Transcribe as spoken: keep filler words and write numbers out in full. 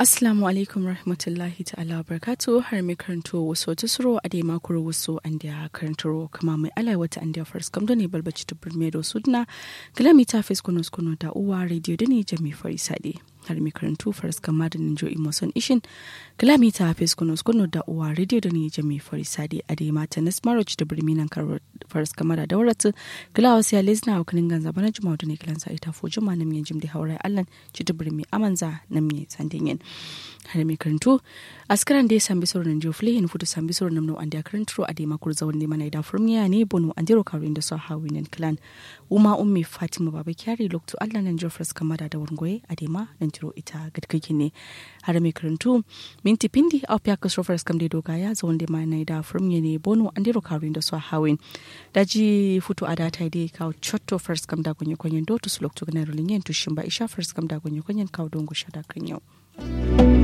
Assalamu alaikum warahmatullahi ta'ala wabarakatuh. Har mai karanto waso tusuro adai ma kuru waso andeya karanturo kama mai alai wata andeya farsakam done balbaci tubur me do sudna. Kala mita fes kono kono da uwa radio done jami farisade. Har mai karanto farsakam ma da ninjo imoson ishin. Kala mita fes kono kono da uwa radio done jami farisade adai ma tanas maro ci tubur me nan karo farsakam ma da dauratu. Kala wasu ya lezna wa kanin ganza bana juma done kalan sa ita fo juma nan yin jim da haurai allan. Citi birmi amanza namye sandinyen. Har mai karantu askaran dai sambi soro nan jiyo fule yin futu sambi soro namno andiya karanturo adai ma kuru zawon dai mana ida furmiya ne bono andiro karu inda so hawi nan klan. Uma ummi fatima baba kyari loktu allah nan jiyo farsakam ma da daurun goye adai ma nan jiro ita gadkaki ne. Har mai karantu minti pindi au fiya kasro farsakam dai dogaya zawon dai mana ida furmiya ne bono andiro karu inda so hawi. Daji futu adata dai kawo cotto farsakam da gonye konyen do tusu loktu gana rulin yen tushin ba isha farsakam da gonye konyen kawo dongo shada kan yau.